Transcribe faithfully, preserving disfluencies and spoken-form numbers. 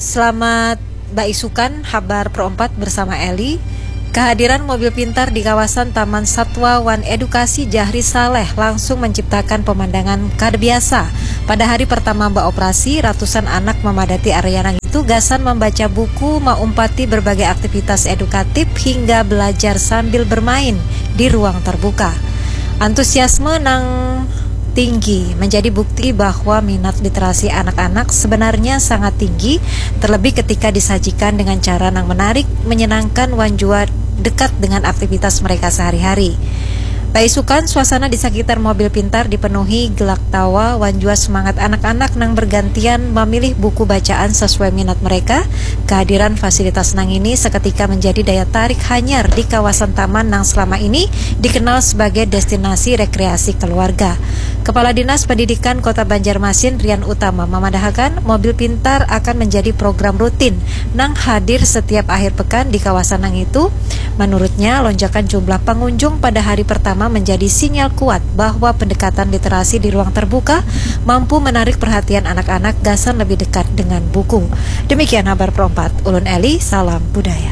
Selamat baisukan, habar Pro empat bersama Eli. Kehadiran mobil pintar di kawasan Taman Satwa wan Edukasi Jahri Saleh langsung menciptakan pemandangan kada biasa. Pada hari pertama beoperasi, ratusan anak memadati area nang itu gasan membaca buku, maumpati berbagai aktivitas edukatif hingga belajar sambil bermain di ruang terbuka. Antusiasme nang tinggi menjadi bukti bahwa minat literasi anak-anak sebenarnya sangat tinggi, terlebih ketika disajikan dengan cara nang menarik, menyenangkan wan jua dekat dengan aktivitas mereka sehari-hari. Paisukan, suasana di sekitar mobil pintar dipenuhi gelak tawa wan jua semangat anak-anak nang bergantian memilih buku bacaan sesuai minat mereka. Kehadiran fasilitas nang ini seketika menjadi daya tarik hanyar di kawasan taman nang selama ini dikenal sebagai destinasi rekreasi keluarga. Kepala Dinas Pendidikan Kota Banjarmasin, Rian Utama, memadahakan mobil pintar akan menjadi program rutin nang hadir setiap akhir pekan di kawasan nang itu. Menurutnya, lonjakan jumlah pengunjung pada hari pertama menjadi sinyal kuat bahwa pendekatan literasi di ruang terbuka mampu menarik perhatian anak-anak gasan lebih dekat dengan buku. Demikian habar Pro empat, ulun Eli, salam budaya.